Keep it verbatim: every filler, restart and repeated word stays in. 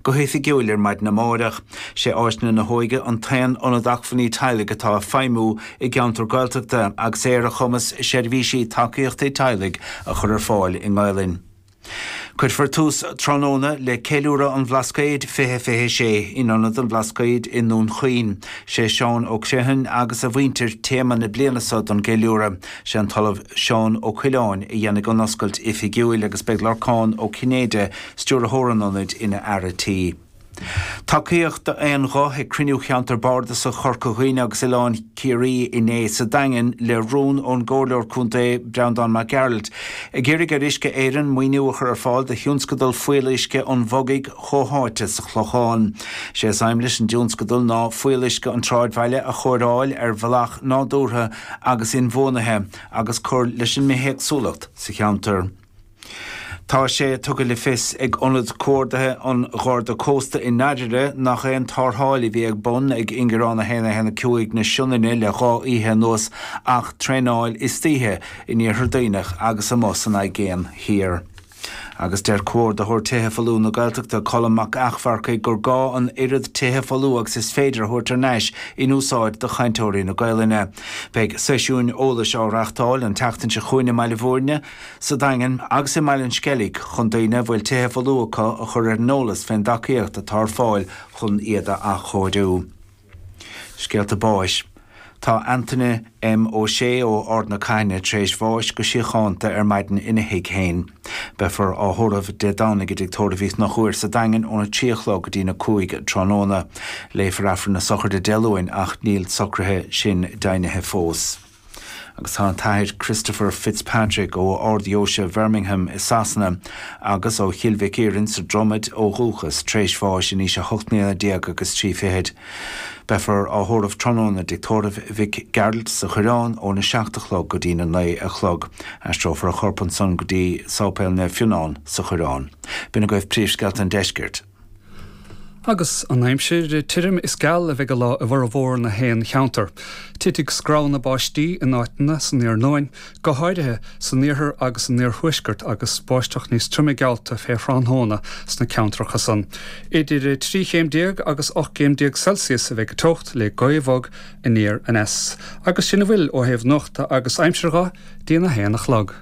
go hoifigiúil ar maidin amárach. Sé Áiseanna na hÓige an t-aon ionad acmhainní teaghlaigh atá ag feidhmiú i gceantar Gaeltachta agus é ar a chumas seirbhísí tacaíochta teaghlaigh a chur ar fáil i nGaelainn. Cuirfear tús tráthnóna le ceiliúradh an Bhlascaoid fiche fiche sé in Ionad an Bhlascaoid i nDún Chaoin. Sé Seán Ó Criomhthain agus a mhuintir téama na bliana seo don gceiliúradh. Sé an tOllamh Seán Ó Coileáin a dhéanfaidh an oscailt oifigiúil agus beidh Lorcán Ó Cinnéide, stiúrthóir an ionaid, ina fhear tí. Tacaíocht d'aon ghuth ag cruinniú cheantar bardasach Chorca Dhuibhne agus Oileán Ciarraí inné sa Daingean le rún ón gComhairleoir Contae Breandán Mac Gearailt ag iarraidh ar Uisce Éireann maoiniú a chur ar fáil do thionscadal fuíolluisce an Bhogaigh chomhtháite sa Chlochán. Sé is aidhm leis an dtionscadal ná fuíolluisce an tsráidbhaile a chóireáil ar bhealach nádúrtha agus inbhuanaithe agus cur leis an mbithéagsúlacht sa cheantar. Tá sé tugtha le fios ag Ionad Comhordaithe an Gharda Cósta i nDairire nach aon tarrtháil a bhí ar bun ag Ingearán a haon a haon a cúig na Sionainne le dhá oíche anuas ach traenáil istoíche in Iarthar Duibhneach agus amuigh san Aigéan Thiar. Agus deir Comhordaitheoir Tithe Folmha na Gaeltachta Colm Mac Eachmharcaigh gur gá an oiread tithe folmha agus is féidir a thabhairt ar ais in úsáid do chainteoirí na Gaelainne. Beidh seisiúin eolais á reáchtáil an tseachtain seo chugainn i mBaile Bhúirne, sa Daingean agus i mBaile an Sceilg chun daoine a bhfuil tithe folmha acu a chur ar an eolas fén dtacaíocht atá ar fáil chun iad a athchóiriú. Scéalta báis. Tá Antaine M. Ó Sé ó Ard na Caithne tar éis bháis go síochánta ar maidin ina thigh féin. Beifear á thórramh Dé Domhnaigh i dTigh Tórraimh Uí Chonchúir sa Daingean óna trí a chlog go dtí na cúig tráthnóna. Léifear Aifreann na sochraide Dé Luain ach níl socruithe sin deimhnithe fós. Agus tá an tAthair Christopher Fitzpatrick ó Ard-Dheoise Bhirmingham i Sasana agus ó Chill Mhic Iarainn sa Dromaid ó dhúchas tar éis bháis in aois a hocht mbliana déag agus trí fichid. Beifear á thórramh tráthnóna i dTigh Tórraimh Mhic Gearailt sa Choireán óna seacht a chlog go dtí na naoi a chlog. Aistreofar a chorp ansan go dtí Sáipéal Naomh Fionnán sa Choireán. B'in agaibh príomhscéalta an deiscirt. Agus an aimsir tirim is geal a bheidh an lá i bhformhór na haon cheantar. Titfidh screamhanna báistí in áiteanna san iarnóin, go háirithe san iarthar agus san iarthuaisceart agus báisteach níos troime geallta fé thráthnóna sna ceantracha san. Idir trí chéim déag agus ocht gcéim déag Celsius a bheidh an teocht le gaoth bhog aniar aneas. Agus sin a bhfuil ó thaobh nuachta agus aimsire dhe go dtína haon a chlog.